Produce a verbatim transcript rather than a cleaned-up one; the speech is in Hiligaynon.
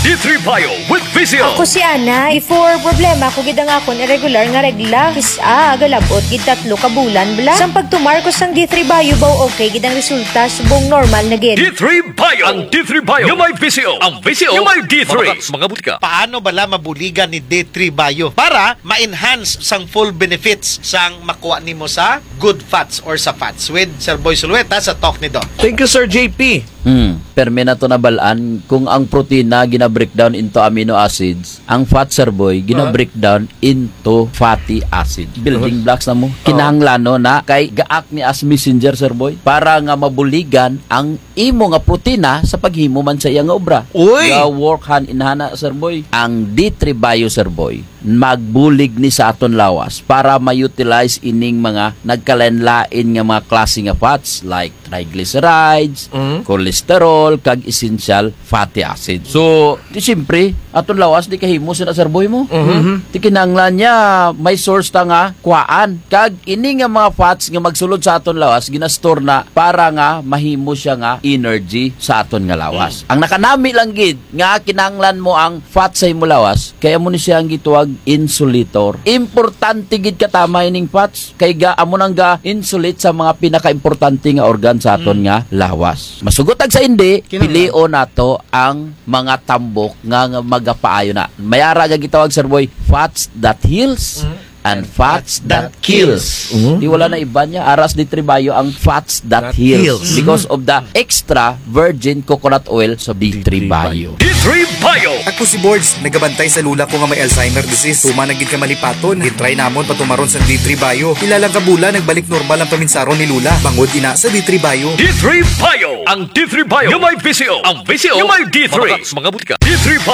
D three Bio with V C O. Ako si Ana. Before, problema ko gid ang akon irregular nga regla. Kis-a, galabot gid tatlo ka bulan bala. Sang pagtumar ko sang D three Bio, baw okay gid ang resulta, subong normal na gid. D three Bio. Ang D three Bio nga may V C O. Ang V C O nga may D three. Mga, mga butika. Paano bala mabuligan ni D three Bio para ma-enhance sang full benefits sang makuha nimo sa good fats or sa fats? With Sir Boy Sulueta sa Talk ni Doc. Thank you, Sir J P. Hmm, permi na to nabalaan kung ang protina gina-breakdown into amino acids, ang fat, Sir Boy, gina-breakdown into fatty acids. Building blocks na mo. Kinahanglan, no, na kay gaak ni as messenger, Sir Boy, para nga mabuligan ang imo nga protina sa paghimo man sa iya nga obra. Uy! Ga-work hand in hand na, Sir Boy. Ang D three Bio, Sir Boy, magbulig ni sa aton lawas para ma-utilize ining mga nagkalain-lain nga mga klase nga fats like triglycerides, Mm. cholesterol, kag essential fatty acids. So, di siyempre, aton lawas di kahimo sina, Sir Boy, mo. Mhm. Di kinahanglan niya may source ta nga kuhaan. Kag ini nga mga fats nga magsulod sa aton lawas, ginastore na para nga mahimo siya nga energy sa aton nga lawas. Mm. Ang nakanami lang gid nga kinahanglan mo ang fat sa imo lawas, kay amo ni siya ang gitawag insulator. Importante gid katama ining fats, kay ga, amo nang ga-insulate sa mga pinakaimportante nga organ sa aton Mm. nga lawas. Masugot ag sa hindi, Kinahanglan. Pilion nato ang mga tambok nga, nga magapaayo na. May ara nga gitawag, Sir Boy, fats that heals Mm. and fats that kills. Mhm. Di wala na iba niya, aras D three Bio ang fats that That heals. Heals. Because of the extra virgin coconut oil sa D three Bio. D three Bio. Ako si Borge, nagabantay sa lula ko nga may Alzheimer disease. Tuman na gid ka malipaton. Gintry namon patumaron sa D three Bio. Pila lang ka bulan, nagbalik normal ang paminsaron ni lula. Bangod ina sa D three Bio. D three Bio. Ang D three Bio nga may V C O. Ang V C O nga may D three. Mga, mga butika. D three Bio.